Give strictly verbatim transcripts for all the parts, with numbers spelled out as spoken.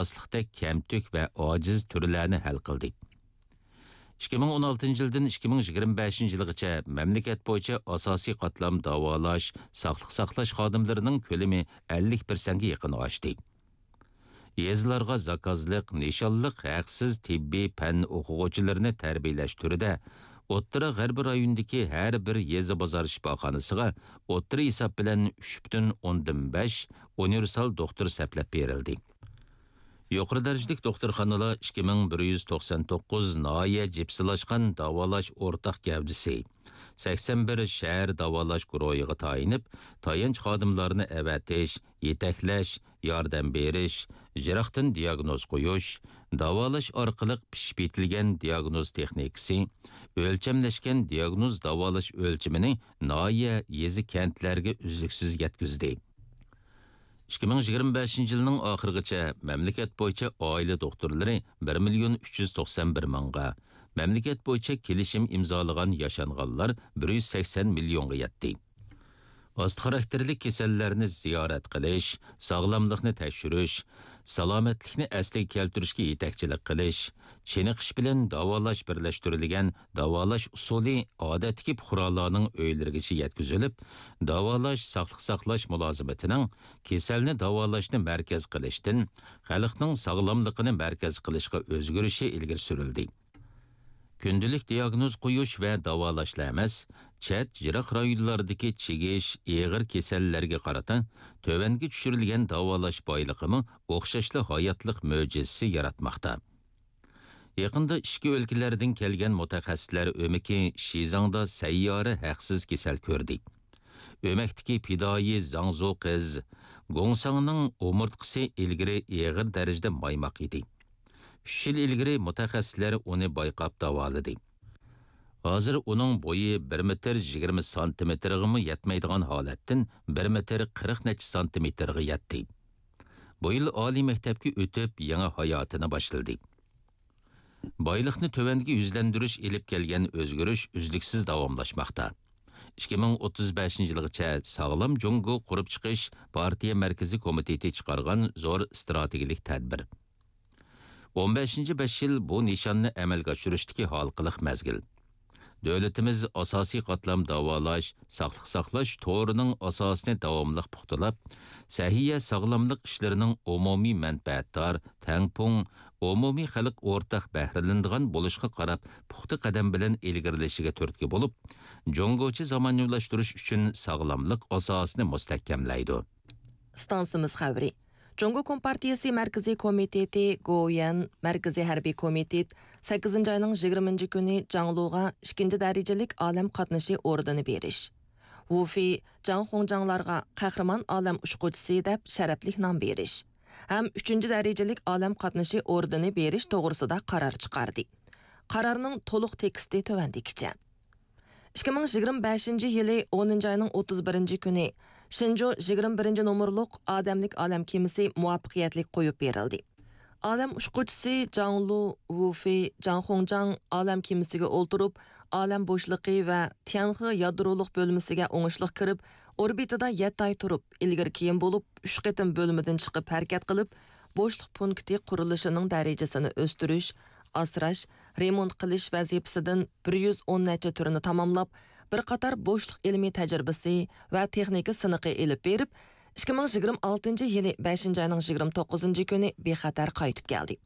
ئاساسلىقتەك كەمتۈك ۋە ئاجىز تۈرلەرنى ھەل قىلدى. ئىككى مىڭ ئون ئالتىنچى يىلدىن ئىككى مىڭ يىگىرمە بەشىنچى يىلغىچە مەملىكەت بويىچە ئاساسىي قاتلام داۋالاش، ساقلىق ساقلاش خادىملىرىنىڭ كۆلىمى ئەللىك پىرسەنتكە يېقىن ئاشتى. يېزىلارغا زاكازلىق، نىشانلىق ھەقسىز تېببىي پەن ئوقۇغۇچىلىرىنى تەربىيەلەش تۈرىدە ئوتتۇرا غەربىي رايوندىكى ھەر بىر يېزا بازار شىپاخانىسىغا ئوتتۇرا ھېساب بىلەن ئۈچ پۈتۈن ئوندىن بەش ئۇنىۋېرسال دوختۇر سەپلەپ بېرىلدى. يۇقىرى دەرىجىلىك دوختۇرخانىلار ئىككى مىڭ بىر يۈز توقسان توققۇز ناھىيە جىپسىلاشقان داۋالاش ئورتاق گەۋدىسى، سەكسەن بىر شەھەر داۋالاش گۇرۇھىغا تايىنىپ، تايانچ خادىملارنى ئەۋەتىش، يېتەكلەش، ياردەم بېرىش، يىراقتىن دىياگنوز قويۇش، داۋالاش ئارقىلىق پىشىپ يېتىلگەن دىياگنوز تېخنىكىسى، ئۆلچەملەشكەن دىياگنوز داۋالاش ئۆلچىمىنى ناھىيە، يېزا، كەنتلەرگە ئۈزلۈكسىز يەتكۈزدى. ئىككى مىڭ يىگىرمە بەشىنچى يىلنىڭ ئاخىرىغىچە مەملىكەت بويىچە ئائىلە دوختۇرلىرى بىر مىليون ئۈچ يۈز توقسان بىر مىڭغا، مەملىكەت بويىچە كېلىشىم ئىمزالىغان ياشانغانلار بىر يۈز سەكسەن مىليونغا يەتتى. ئاستا خاراكتېرلىك كېسەللەرنى زىيارەت قىلىش، ساغلاملىقنى تەكشۈرۈش، سالامەتلىكنى ئەسلىگە كەلتۈرۈشكە يېتەكچىلىك قىلىش، چېنىقىش بىلەن داۋالاش بىرلەشتۈرۈلگەن داۋالاش ئۇسۇلى ئادەتتىكى پۇقرالارنىڭ ئۆيلىرىگىچە يەتكۈزۈلۈپ، داۋالاش، ساقلىق ساقلاش مۇلازىمىتىنىڭ كېسەلنى داۋالاشنى مەركەز قىلىشتىن، خەلقنىڭ ساغلاملىقىنى مەركەز قىلىشقا ئۆزگىرىشى ئىلگىرى سۈرۈلدى. كۈندىلىك دىياگنوز قويۇش ۋە داۋالاشلا ئەمەس، چەت، يىراق رايونلاردىكى چىگىش، ئېغىر كېسەللەرگە قارىتا تۆۋەنگە چۈشۈرۈلگەن داۋالاش بايلىقىمۇ ئوخشاشلا ھاياتلىق مۆجىزىسى ياراتماقتا. يېقىندا ئىچكى ئۆلكىلەردىن كەلگەن مۇتەخەسسىسلەر ئۆمىكى شىزاڭدا سەييارە ھەقسىز كېسەل كۆردى. ئۆمەكتىكى پىدائىي زاڭزۇ قىز گوڭساڭنىڭ ئومۇرتقىسى ئىلگىرى ئېغىر دەرىجىدە مايماق ئىدى. ئۈچ يىل ئىلگىرى مۇتەخەسسىسلەر ئۇنى بايقاپ داۋالىدى. ھازىر ئۇنىڭ بويى بىر مېتىر يىگىرمە سانتىمېتىرغىمۇ يەتمەيدىغان ھالەتتىن بىر مېتىر قىرىق نەچچە سانتىمېتىرغا يەتتى. بۇ يىل ئالىي مەكتەپكە ئۆتۈپ، يېڭى ھاياتىنى باشلىدى. بايلىقنى تۆۋەنگە يۈزلەندۈرۈش ئېلىپ كەلگەن ئۆزگىرىش ئۈزلۈكسىز داۋاملاشماقتا. ئىككى مىڭ ئوتتۇز بەشىنچى يىلغىچە ساغلام جۇڭگو قۇرۇپ چىقىش پارتىيە مەركىزىي كومىتېتى چىقارغان زور ئىستراتېگىيەلىك تەدبىر. ئون بەشىنچى بەش يىل بۇ نىشاننى ئەمەلگە ئاشۇرۇشتىكى ھالقىلىق مەزگىل. دۆلىتىمىز ئاساسىي قاتلام داۋالاش، ساقلىق ساقلاش تورىنىڭ ئاساسىنى داۋاملىق پۇختىلاپ، سەھىيە ساغلاملىق ئىشلىرىنىڭ ئومۇمىي مەنپەئەتدار، تەڭپۇڭ، ئومۇمىي خەلق ئورتاق بەھرىلىنىدىغان بولۇشىغا قاراپ پۇختا قەدەم بىلەن ئىلگىرىلىشىگە تۈرتكە بولۇپ، جۇڭگوچە زامانىۋىلاشتۇرۇش ئۈچۈن ساغلاملىق ئاساسىنى مۇستەھكەملەيدۇ. ئىستانسىمىز خەۋىرى. جۇڭگو كومپارتىيىسى مەركىزىي كومىتېتى، گوۋۇيۈەن مەركىزىي ھەربىي كومىتېت سەككىزىنچى ئاينىڭ يىگىرمىنچى كۈنى جاڭلۇغا ئىككىنچى دەرىجىلىك ئالەم قاتنىشى ئوردېنى بېرىش، ۋۇ فېي، جاڭ خۇڭجاڭلارغا قەھرىمان ئالەم ئۇچقۇچىسى دەپ شەرەپلىك نام بېرىش ھەم ئۈچىنچى دەرىجىلىك ئالەم قاتنىشى ئوردېنى بېرىش توغرىسىدا قارار چىقاردى. قارارنىڭ تولۇق تېكىستى تۆۋەندىكىچە. ئىككى مىڭ يىگىرمە بەشىنچى يىلى ئونىنچى ئاينىڭ ئوتتۇز بىرىنچى كۈنى شېنجۇ يىگىرمە بىرىنچى نومۇرلۇق ئادەملىك ئالەم كېمىسى مۇۋەپپەقىيەتلىك قويۇپ بېرىلدى. ئالەم ئۇچقۇچىسى جاڭ لۇ، ۋۇ فېي، جاڭ خۇڭجاڭ ئالەم كېمىسىگە ئولتۇرۇپ، ئالەم بوشلۇقى ۋە تيەنخې يادرولۇق بۆلمىسىگە ئوڭۇشلۇق كىرىپ، ئوربىتىدا يەتتە ئاي تۇرۇپ، ئىلگىرى كېيىن بولۇپ ئۈچ قېتىم بۆلمىدىن چىقىپ ھەرىكەت قىلىپ، بوشلۇق پونكىتى قۇرۇلۇشىنىڭ دەرىجىسىنى ئۆستۈرۈش، ئاسراش، رېمونت قىلىش ۋەزىپىسىدىن بىر يۈز ئون نەچچە تۈرىنى تاماملاپ، بىر قاتار بوشلۇق ئىلمىي تەجرىبىسى ۋە تېخنىكا سىنىقى ئېلىپ بېرىپ، ئىككى مىڭ يىگىرمە ئالتىنچى يىلى بەشىنچى ئاينىڭ يىگىرمە توققۇزىنچى كۈنى بىخەتەر قايتىپ كەلدى.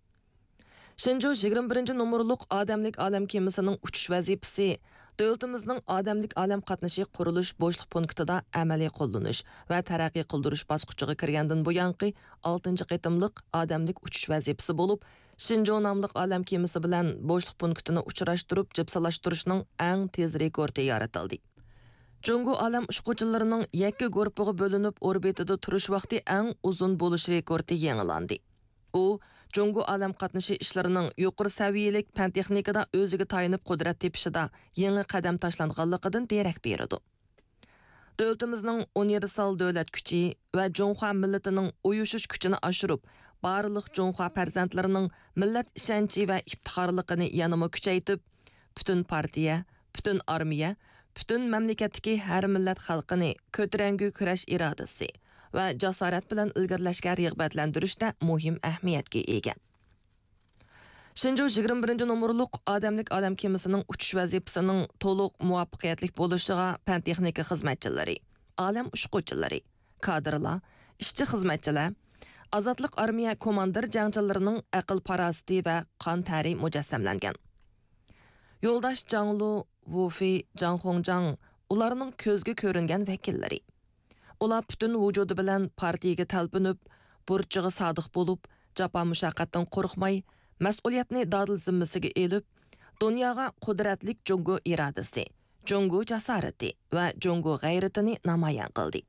شېنجۇ يىگىرمە بىرىنچى نومۇرلۇق ئادەملىك ئالەم كېمىسىنىڭ ئۇچۇش ۋەزىپىسى دۆلىتىمىزنىڭ ئادەملىك ئالەم قاتنىشى قۇرۇلۇش بوشلۇق پونكىتىدا ئەمەلىي قوللىنىش ۋە تەرەققىي قىلدۇرۇش باسقۇچىغا كىرگەندىن بۇيانقى ئالتىنچى قېتىملىق ئادەملىك ئۇچۇش ۋەزىپىسى بولۇپ، شېنجۇ ناملىق ئالەم كېمىسى بىلەن بوشلۇق پونكىتىنى ئۇچراشتۇرۇپ جىپسىلاشتۇرۇشنىڭ ئەڭ تېز رېكورتى يارىتىلدى. جۇڭگو ئالەم ئۇچقۇچىلىرىنىڭ يەككە گۇرۇپپىغا بۆلۈنۈپ ئوربىتىدا تۇرۇش ۋاقتى ئەڭ ئۇزۇن بولۇش رېكورتى يېڭىلاندى. ئۇ، جۇڭگو ئالەم قاتنىشى ئىشلىرىنىڭ يۇقىرى سەۋىيەلىك پەن-تېخنىكىدا ئۆزىگە تايىنىپ قۇدرەت تېپىشىدا يېڭى قەدەم تاشلانغانلىقىدىن دېرەك بېرىدۇ. دۆلىتىمىزنىڭ ئۇنىۋېرسال دۆلەت كۈچى ۋە جۇڭخۇا مىللىتىنىڭ ئۇيۇشۇش كۈچىنى ئاشۇرۇپ، بارلىق جۇڭخۇا پەرزەنتلىرىنىڭ مىللەت ئىشەنچى ۋە ئىپتىخارلىقىنى يەنىمۇ كۈچەيتىپ، پۈتۈن پارتىيە، پۈتۈن ئارمىيە، پۈتۈن مەملىكەتتىكى ھەر مىللەت خەلقىنى كۆتۈرەڭگۈ كۈرەش ئىرادىسى ۋە جاسارەت بىلەن ئىلگىرىلەشكە رىغبەتلەندۈرۈشتە مۇھىم ئەھمىيەتكە ئىگە. شېنجۇ يىگىرمە بىرىنچى نومۇرلۇق ئادەملىك ئالەم كېمىسىنىڭ ئۇچۇش ۋەزىپىسىنىڭ تولۇق مۇۋەپپەقىيەتلىك بولۇشىغا پەن-تېخنىكا خىزمەتچىلىرى، ئالەم ئۇچقۇچىلىرى، كادىرلار، ئىشچى-خىزمەتچىلەر، ئازادلىق ئارمىيە كوماندىر جەڭچىلىرىنىڭ ئەقىل-پاراسىتى ۋە قان تەرى مۇجەسسەملەنگەن. يولداش جاڭلۇ، ۋۇفېي، جاڭ خۇڭجاڭ ئۇلارنىڭ كۆزگە كۆرۈنگەن ۋەكىللىرى. ئۇلار پۈتۈن ۋۇجۇدى بىلەن پارتىيىگە تەلپۈنۈپ، بۇرچىغا سادىق بولۇپ، جاپا-مۇشەققەتتىن قورقماي، مەسئۇلىيەتنى دادىل زىممىسىگە ئېلىپ، دۇنياغا قۇدرەتلىك جۇڭگو ئىرادىسى، جۇڭگو جاسارىتى ۋە جۇڭگو غەيرىتىنى نامايان قىلدى.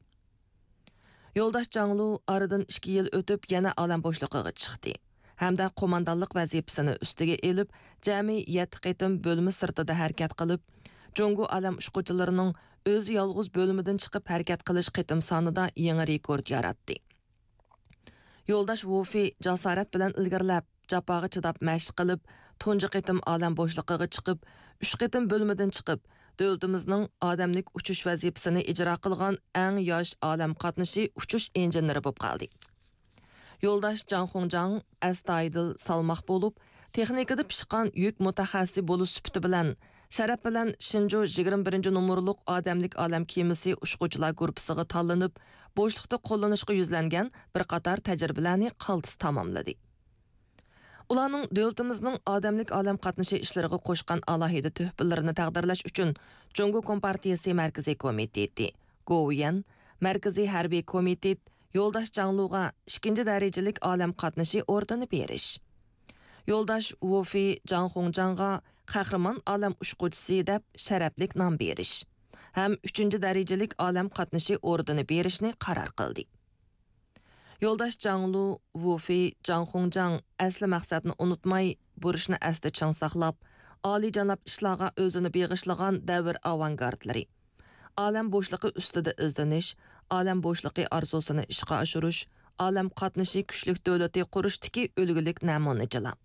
يولداش جاڭلۇ ئارىدىن ئىككى يىل ئۆتۈپ يەنە ئالەم بوشلۇقىغا چىقتى ھەمدە قوماندانلىق ۋەزىپىسىنى ئۈستىگە ئېلىپ، جەمئىي يەتتە قېتىم بۆلمە سىرتىدا ھەرىكەت قىلىپ، جۇڭگو ئالەم ئۇچقۇچىلىرىنىڭ ئۆزى يالغۇز بۆلمىدىن چىقىپ ھەرىكەت قىلىش قېتىم سانىدا يېڭى رېكورت ياراتتى. يولداش ۋۇفېي جاسارەت بىلەن ئىلگىرىلەپ، جاپاغا چىداپ مەشىق قىلىپ، تۇنجى قېتىم ئالەم بوشلۇقىغا چىقىپ، ئۈچ قېتىم بۆلمىدىن چىقىپ، دۆلىتىمىزنىڭ ئادەملىك ئۇچۇش ۋەزىپىسىنى ئىجرا قىلغان ئەڭ ياش ئالەم قاتنىشى ئۇچۇش ئىنژېنېرى بولۇپ قالدى. يولداش جاڭ خۇڭجاڭ ئەستايىدىل، سالماق بولۇپ، تېخنىكىدا پىشقان يۈك مۇتەخەسسىسى بولۇش سۈپىتى بىلەن، شەرەپ بىلەن شىنجۇ يىگىرمە بىرىنچى نومۇرلۇق ئادەملىك ئالەم كېمىسى ئۇچقۇچىلار گۇرۇپپىسىغا تاللىنىپ، بوشلۇقتا قوللىنىشقا يۈزلەنگەن بىر قاتار تەجرىبىلەرنى قالتىس تاماملىدى. ئۇلارنىڭ دۆلىتىمىزنىڭ ئادەملىك ئالەم قاتنىشى ئىشلىرىغا قوشقان ئالاھىدە تۆھپىلىرىنى تەقدىرلەش ئۈچۈن، جۇڭگو كومپارتىيىسى مەركىزىي كومىتېتى، گوۋۇيۈەن، مەركىزىي ھەربىي كومىتېت يولداش جاڭلۇغا ئىككىنچى دەرىجىلىك ئالەم قاتنىشى ئوردېنى بېرىش، يولداش ۋۇفېي جاڭ خۇڭجاڭغا قەھرىمان ئالەم ئۇچقۇچىسى دەپ شەرەپلىك نام بېرىش ھەم ئۈچىنچى دەرىجىلىك ئالەم قاتنىشى ئوردېنى بېرىشنى قارار قىلدى. يولداش جاڭلۇ، ۋۇفېي، جاڭ خۇڭجاڭ ئەسلى مەقسەتنى ئۇنتۇماي، بۇرچنى ئەستە چىڭ ساقلاپ، ئالىيجاناب ئىشلارغا ئۆزىنى بېغىشلىغان دەۋر ئاۋانگارتلىرى، ئالەم بوشلۇقى ئۈستىدە ئىزدىنىش، ئالەم بوشلۇقى ئارزۇسىنى ئىشقا ئاشۇرۇش، ئالەم قاتنىشى كۈچلۈك دۆلىتى قۇرۇشتىكى ئۈلگىلىك نەمۇنىچىلار.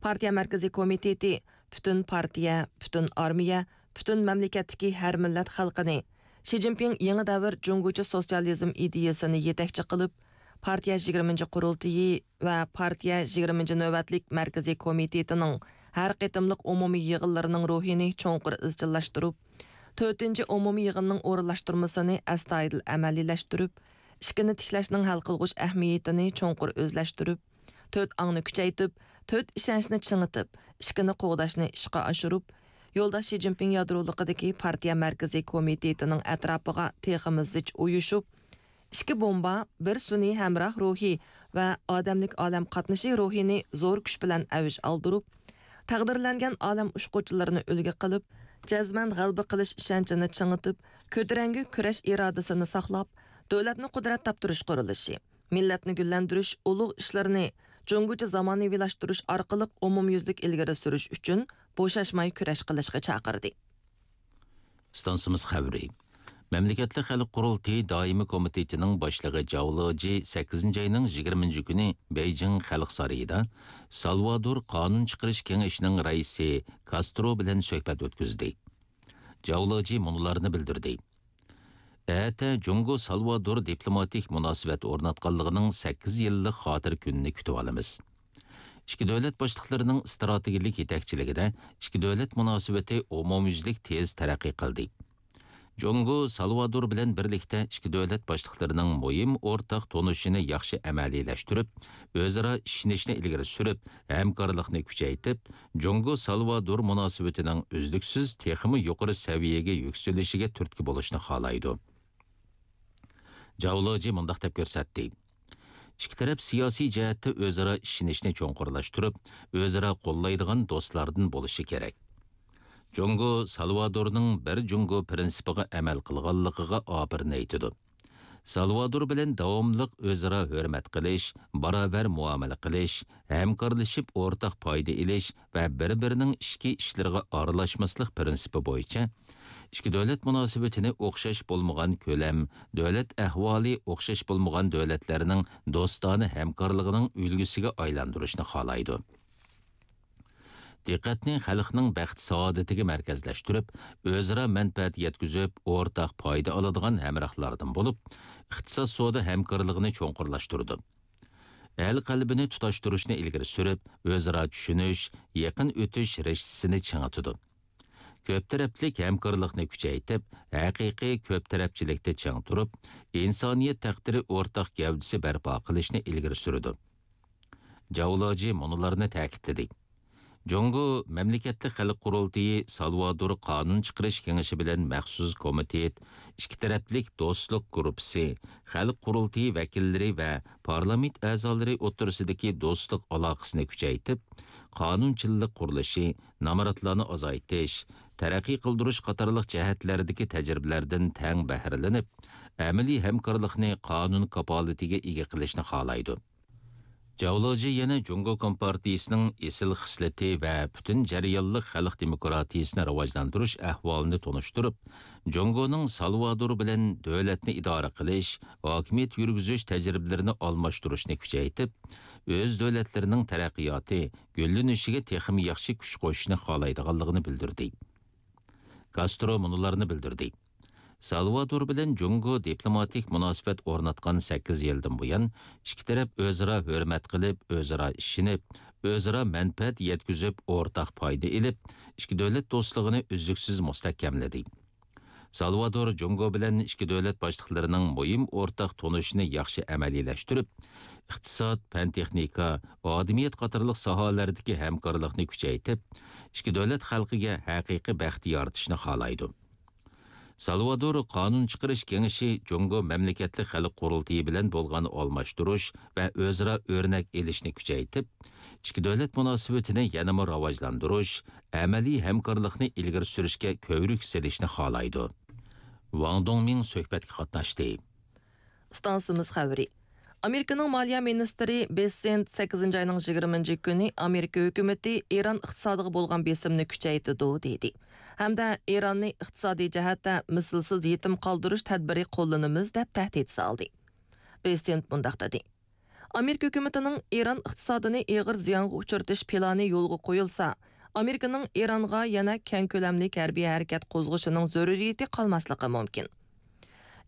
پارتىيە مەركىزىي كومىتېتى پۈتۈن پارتىيە، پۈتۈن ئارمىيە، پۈتۈن مەملىكەتتىكى ھەر مىللەت خەلقىنى شى جىنپىڭ يېڭى دەۋر جۇڭگوچە سوتسىيالىزم ئىدىيەسىنى يېتەكچى قىلىپ، پارتىيە يىگىرمىنچى قۇرۇلتىيى ۋە پارتىيە يىگىرمىنچى نۆۋەتلىك مەركىزىي كومىتېتىنىڭ ھەر قېتىملىق ئومۇمىي يىغىنلىرىنىڭ روھىنى چوڭقۇر ئىزچىللاشتۇرۇپ، تۆتىنچى ئومۇمىي يىغىننىڭ ئورۇنلاشتۇرمىسىنى ئەستايىدىل ئەمەلىيلەشتۈرۈپ، ئىككىنى تىكلەشنىڭ ھەل قىلغۇچ ئەھمىيىتىنى چوڭقۇر ئۆزلەشتۈرۈپ، تۆت ئاڭنى كۈچەيتىپ، تۆت ئىشەنچنى چىڭىتىپ، ئىككىنى قوغداشنى ئىشقا ئاشۇرۇپ، يولداش شى جىنپىڭ يادرولۇقىدىكى پارتىيە مەركىزىي كومىتېتىنىڭ ئەتراپىغا تېخىمۇ زىچ ئۇيۇشۇپ، ئىككى بومبا، بىر سۈنئىي ھەمراھ روھى ۋە ئادەملىك ئالەم قاتنىشى روھىنى زور كۈچ بىلەن ئەۋج ئالدۇرۇپ، تەقدىرلەنگەن ئالەم ئۇچقۇچىلىرىنى ئۈلگە قىلىپ، جەزمەن غەلىبە قىلىش ئىشەنچىنى چىڭىتىپ، كۆتۈرەڭگۈ كۈرەش ئىرادىسىنى ساقلاپ، دۆلەتنى قۇدرەت تاپتۇرۇش قۇرۇلۇشى، مىللەتنى گۈللەندۈرۈش ئۇلۇغ ئىشلىرىنى جۇڭگوچە زامانىۋىلاشتۇرۇش ئارقىلىق ئومۇميۈزلۈك ئىلگىرى سۈرۈش ئۈچۈن بوشاشماي كۈرەش قىلىشقا چاقىردى. ئىستانسىمىز خەۋىرى. مەملىكەتلىك خەلق قۇرۇلتىيى دائىمىي كومىتېتىنىڭ باشلىقى جاۋ لېجى سەككىزىنچى ئاينىڭ يىگىرمىنچى كۈنى بېيجىڭ خەلق سارىيىدا سالۋادور قانۇن چىقىرىش كېڭىشىنىڭ رەئىسى كاسترو بىلەن سۆھبەت ئۆتكۈزدى. جاۋ لېجى مۇنۇلارنى بىلدۈردى. ئەتە جۇڭگو سالۋادور دىپلوماتىك مۇناسىۋەت ئورناتقانلىقىنىڭ سەككىز يىللىق خاتىرە كۈنىنى كۈتۈۋالىمىز. ئىككى دۆلەت باشلىقلىرىنىڭ ئىستراتېگىيەلىك يېتەكچىلىكىدە ئىككى دۆلەت مۇناسىۋىتى ئومۇميۈزلۈك تېز تەرەققىي قىلدى. جۇڭگو سالۋادور بىلەن بىرلىكتە ئىككى دۆلەت باشلىقلىرىنىڭ مۇھىم ئورتاق تونۇشىنى ياخشى ئەمەلىيلەشتۈرۈپ، ئۆزئارا ئىشىنىشنى ئىلگىرى سۈرۈپ، ھەمكارلىقنى كۈچەيتىپ، جۇڭگو سالۋادور مۇناسىۋىتىنىڭ ئۈزلۈكسىز تېخىمۇ يۇقىرى سەۋىيەگە يۈكسىلىشىگە تۈرتكە بولۇشنى خالايدۇ. جاۋ لېجى مۇنداق دەپ كۆرسەتتى. ئىككى تەرەپ سىياسىي جەھەتتە ئۆزئارا ئىشىنىشنى چوڭقۇرلاشتۇرۇپ، ئۆزئارا قوللايدىغان دوستلاردىن بولۇشى كېرەك. جۇڭگو سالۋادورنىڭ بىر جۇڭگو پىرىنسىپىغا ئەمەل قىلغانلىقىغا ئاپىرىن ئېيتىدۇ. سالۋادور بىلەن داۋاملىق ئۆزئارا ھۆرمەت قىلىش، باراۋەر مۇئامىلە قىلىش، ھەمكارلىشىپ ئورتاق پايدا ئېلىش ۋە بىر-بىرىنىڭ ئىچكى ئىشلىرىغا ئارىلاشماسلىق پىرىنسىپى بويىچە ئىككى دۆلەت مۇناسىۋىتىنى ئوخشاش بولمىغان كۆلەم، دۆلەت ئەھۋالى ئوخشاش بولمىغان دۆلەتلەرنىڭ دوستانە ھەمكارلىقىنىڭ ئۈلگىسىگە ئايلاندۇرۇشنى خالايدۇ. دىققەتنى خەلقنىڭ بەخت-سائادىتىگە مەركەزلەشتۈرۈپ، ئۆزئارا مەنپەئەت يەتكۈزۈپ، ئورتاق پايدا ئالىدىغان ھەمراھلاردىن بولۇپ، ئىقتىساد-سودا ھەمكارلىقىنى چوڭقۇرلاشتۇرىدۇ. ئەل قەلبىنى تۇتاشتۇرۇشنى ئىلگىرى سۈرۈپ، ئۆزئارا چۈشىنىش، يېقىن ئۆتۈش رىشتىسىنى چىڭىتىدۇ. كۆپ تەرەپلىك ھەمكارلىقنى كۈچەيتىپ، ھەقىقىي كۆپ تەرەپچىلىكتە چىڭ تۇرۇپ، ئىنسانىيەت تەقدىرى ئورتاق گەۋدىسى بەرپا قىلىشنى ئىلگىرى سۈرىدۇ. جاۋ لېجى مۇنۇلارنى تەكىتلىدى. جۇڭگو مەملىكەتلىك خەلق قۇرۇلتىيى سالۋادور قانۇن چىقىرىش كېڭىشى بىلەن مەخسۇس كومىتېت، ئىككى تەرەپلىك دوستلۇق گۇرۇپپىسى، خەلق قۇرۇلتىيى ۋەكىللىرى ۋە پارلامېنت ئەزالىرى ئوتتۇرىسىدىكى دوستلۇق ئالاقىسىنى كۈچەيتىپ، قانۇنچىلىق قۇرۇلۇشى، نامراتلارنى ئازايتىش، تەرەققىي قىلدۇرۇش قاتارلىق جەھەتلەردىكى تەجرىبىلەردىن تەڭ بەھرىلىنىپ، ئەمەلىي ھەمكارلىقنى قانۇن كاپالىتىگە ئىگە قىلىشنى خالايدۇ. جاۋ لېجى يەنە جۇڭگو كومپارتىيىسىنىڭ ئېسىل خىسلىتى ۋە پۈتۈن جەريانلىق خەلق دېموكراتىيىسىنى راۋاجلاندۇرۇش ئەھۋالىنى تونۇشتۇرۇپ، جۇڭگونىڭ سالۋادور بىلەن دۆلەتنى ئىدارە قىلىش، ھاكىمىيەت يۈرگۈزۈش تەجرىبىلىرىنى ئالماشتۇرۇشنى كۈچەيتىپ، ئۆز دۆلەتلىرىنىڭ تەرەققىياتى، گۈللىنىشىگە تېخىمۇ ياخشى كۈچ قوشۇشنى خالايدىغانلىقىنى بىلدۈردى. كاسترو مۇنۇلارنى بىلدۈردى. سالۋادور بىلەن جۇڭگو دىپلوماتىك مۇناسىۋەت ئورناتقان سەككىز يىلدىن بۇيان، ئىككى تەرەپ ئۆزئارا ھۆرمەت قىلىپ، ئۆزئارا ئىشىنىپ، ئۆزئارا مەنپەئەت يەتكۈزۈپ، ئورتاق پايدا ئېلىپ، ئىككى دۆلەت دوستلۇقىنى ئۈزلۈكسىز مۇستەھكەملىدى. سالۋادور جۇڭگو بىلەن ئىككى دۆلەت باشلىقلىرىنىڭ مۇھىم ئورتاق تونۇشىنى ياخشى ئەمەلىيلەشتۈرۈپ، ئىقتىساد، پەن-تېخنىكا، ئادىمىيەت قاتارلىق ساھەلەردىكى ھەمكارلىقنى كۈچەيتىپ، ئىككى دۆلەت خەلقىگە ھەقىقىي بەخت يارىتىشنى خالايدۇ. سالۋادور قانۇن چىقىرىش كېڭىشى جۇڭگو مەملىكەتلىك خەلق قۇرۇلتىيى بىلەن بولغان ئالماشتۇرۇش ۋە ئۆزئارا ئۆرنەك ئېلىشنى كۈچەيتىپ، ئىككى دۆلەت مۇناسىۋىتىنى يەنىمۇ راۋاجلاندۇرۇش، ئەمەلىي ھەمكارلىقنى ئىلگىرى سۈرۈشكە كۆۋرۈك سېلىشنى خالايدۇ. ۋاڭ دۇڭمىڭ سۆھبەتكە قاتناشتى. ئىستانسىمىز خەۋىرى. ئامېرىكىنىڭ مالىيە مىنىستىرى بېسسېنت سەككىزىنچى ئاينىڭ يىگىرمىنچى كۈنى ئامېرىكا ھۆكۈمىتى ئىران ئىقتىسادىغا بولغان بېسىمنى كۈچەيتىدۇ، دېدى. ھەمدە ئىراننى ئىقتىسادىي جەھەتتە مىسلىسىز يېتىم قالدۇرۇش تەدبىرى قوللىنىمىز، دەپ تەھدىت سالدى. بېسسېنت مۇنداق دېدى. ئامېرىكا ھۆكۈمىتىنىڭ ئىران ئىقتىسادىنى ئېغىر زىيانغا ئۇچرىتىش پىلانى يولغا قويۇلسا، ئامېرىكىنىڭ ئىرانغا يەنە كەڭ كۆلەملىك ھەربىي ھەرىكەت قوزغىشىنىڭ زۆرۈرىيىتى قالماسلىقى مۇمكىن.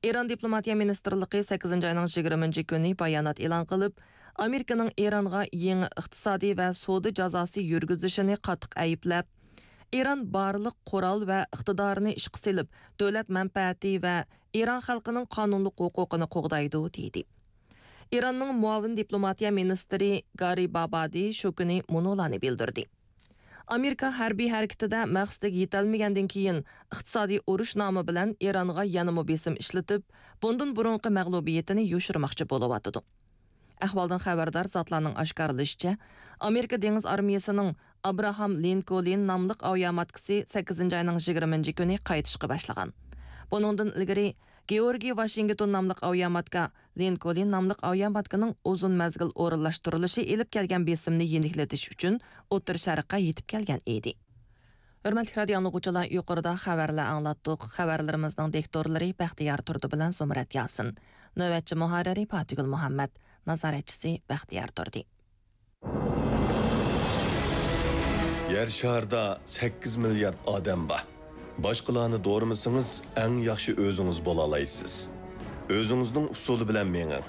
ئىران دىپلوماتىيە مىنىستىرلىقى سەككىزىنچى ئاينىڭ يىگىرمىنچى كۈنى بايانات ئېلان قىلىپ، ئامېرىكىنىڭ ئىرانغا يېڭى ئىقتىسادىي ۋە سودا جازاسى يۈرگۈزۈشىنى قاتتىق ئەيىبلەپ، ئىران بارلىق قورال ۋە ئىقتىدارىنى ئىشقا سېلىپ، دۆلەت مەنپەئەتى ۋە ئىران خەلقىنىڭ قانۇنلۇق ھوقۇقىنى قوغدايدۇ، دېدى. ئىراننىڭ مۇئاۋىن دىپلوماتىيە مىنىستىرى گارىبابادى شۇ كۈنى مۇنۇلارنى بىلدۈردى. ئامېرىكا ھەربىي ھەرىكىتىدە مەقسىتىگە يېتەلمىگەندىن كېيىن، ئىقتىسادىي ئۇرۇش نامى بىلەن ئىرانغا يەنىمۇ بېسىم ئىشلىتىپ، بۇندىن بۇرۇنقى مەغلۇبىيىتىنى يوشۇرماقچى بولۇۋاتىدۇ. ئەھۋالدىن خەۋەردار زاتلارنىڭ ئاشكارىلىشىچە، ئامېرىكا دېڭىز ئارمىيىسىنىڭ ئابراھام لىنكولن ناملىق ئاۋىياماتكىسى سەككىزىنچى ئاينىڭ يىگىرمىنچى كۈنى قايتىشقا باشلىغان. بۇنىڭدىن ئىلگىرى، گېئورگىي ۋاشىنگتون ناملىق ئاۋىياماتكا لىنكولن ناملىق ئاۋىياماتكىنىڭ ئۇزۇن مەزگىل ئورۇنلاشتۇرۇلۇشى ئېلىپ كەلگەن بېسىمنى يېنىكلىتىش ئۈچۈن ئوتتۇرا شەرققە يېتىپ كەلگەن ئىدى. ھۆرمەتلىك رادىيو ئاڭلىغۇچىلار، يۇقىرىدا خەۋەرلەر ئاڭلاتتۇق. خەۋەرلىرىمىزنىڭ دىكتورلىرى بەختىيار تۇردى بىلەن زۇمرەت ياسىن. نۆۋەتچى مۇھەررىرى پاتىگۈل مۇھەممەد. نازارەتچىسى بەختىيار تۇردى. يەر شارىدا سەككىز مىليارد ئادەم بار. باشقىلارنى دورىمىسىڭىز، ئەڭ ياخشى ئۆزىڭىز بولالايسىز. ئۆزىڭىزنىڭ ئۇسۇلى بىلەن مېڭىڭ.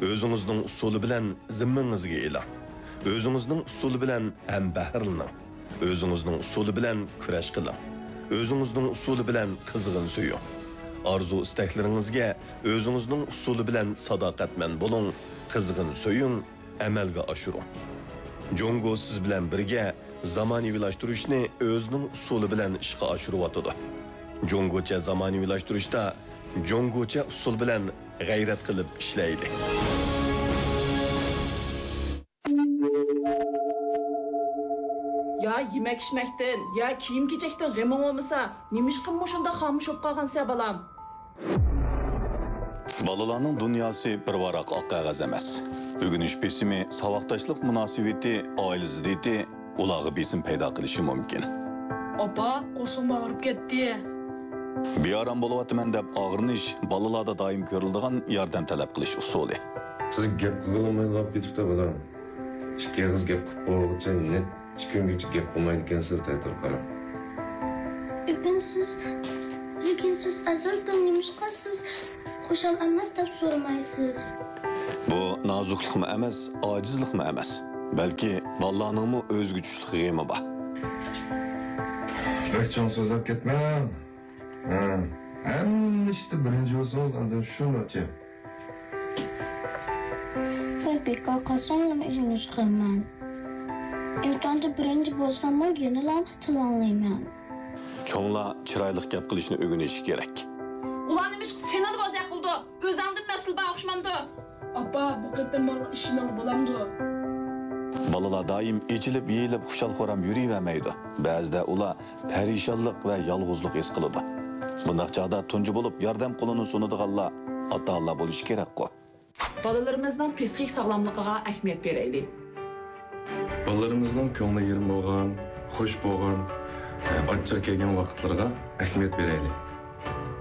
ئۆزىڭىزنىڭ ئۇسۇلى بىلەن زىممىڭىزگە ئېلىڭ. ئۆزىڭىزنىڭ ئۇسۇلى بىلەن ھەمبەھىرلىنىڭ. ئۆزىڭىزنىڭ ئۇسۇلى بىلەن كۈرەش قىلىڭ. ئۆزىڭىزنىڭ ئۇسۇلى بىلەن قىزغىن سۆيۈڭ. ئارزۇ-ئىستەكلىرىڭىزگە ئۆزىڭىزنىڭ ئۇسۇلى بىلەن ساداقەتمەن بولۇڭ، قىزغىن سۆيۈڭ، ئەمەلگە ئاشۇرۇڭ. جۇڭگو سىز بىلەن بىرگە زامانىۋىلاشتۇرۇشنى ئۆزىنىڭ ئۇسۇلى بىلەن ئىشقا ئاشۇرۇۋاتىدۇ. جۇڭگوچە زامانىۋىلاشتۇرۇشتا جۇڭگوچە ئۇسۇل بىلەن غەيرەت قىلىپ ئىشلەيلى. يا يېمەك-ئىچمەكتىن، يا كىيىم-كېچەكتىن غېمىڭ بولمىسا، نېمىشقا مۇشۇنداق خامۇش بولۇپ قالغانسەن، بالام؟ بالىلارنىڭ دۇنياسى بىر ۋاراق ئاق قەغەز ئەمەس. ئۆگىنىش بېسىمى، ساۋاقداشلىق مۇناسىۋىتى، ئائىلە زىددىيىتى ئۇلارغا بېسىم پەيدا قىلىشى مۇمكىن. ئاپا، قورسىقىم ئاغرىپ كەتتى. بىئارام بولۇۋاتىمەن دەپ ئاغرىنىش بالىلاردا دائىم كۆرۈلىدىغان ياردەم تەلەپ قىلىش ئۇسۇلى. سىز گەپ قىلغىلى بولمايدىغان بولۇپ كېتىپتۇ، بالام. ئىككى ئېغىز گەپ قىلىپ بولغۇچە نېت ئىككى كۈنگىچە گەپ قىلمايدىكەنسىز تەتۈر قاراپ. لېكىن سىز، لېكىن سىز ئەزەلدىن نېمىشقا سىز خۇشال ئەمەس دەپ سورىمايسىز؟ بۇ نازۇكلۇقمۇ ئەمەس، ئاجىزلىقمۇ ئەمەس. بەلكى بالىلارنىڭمۇ ئۆزىگە چۈشلۈك غېمى بار. بەك چوڭ سۆزلەپ كەتمەڭ. ھە، ھەممە ئىشتا بىرىنچى بولسىڭىز، ئاندىن شۇ ناچار. مەن بىكار قالساملا ئۆزۈمنى چىقىرىمەن. ئىمتىھاندا بىرىنچى بولساممۇ يەنىلا تىل ئاڭلايمەن. چوڭلار چىرايلىق گەپ قىلىشنى ئۆگىنىشى كېرەك. ئۇلار نېمىشقا سېنىلا بوزەك قىلىدۇ؟ ئۆزەڭدىن مەسىلە بار ئوخشىمامدۇ؟ ئاپا، بۇ قېتىم ماڭا ئىشىنىڭ بولامدۇ؟ بالىلار دائىم ئېچىلىپ، يېيىلىپ، خۇشال-خۇرام يۈرۈۋەرمەيدۇ. بەزىدە ئۇلار پەرىشانلىق ۋە يالغۇزلۇق ھېس قىلىدۇ. بۇنداق چاغدا تۇنجى بولۇپ ياردەم قولىنى سۇنىدىغانلار ئاتا-ئانىلار بولۇشى كېرەكقۇ. بالىلىرىمىزنىڭ پسىخىك ساغلاملىقىغا ئەھمىيەت بېرەيلى. بالىلىرىمىزنىڭ كۆڭلى يېرىم بولغان، خۇش بولغان، ئاچچىق كەلگەن ۋاقىتلىرىغا ئەھمىيەت بېرەيلى.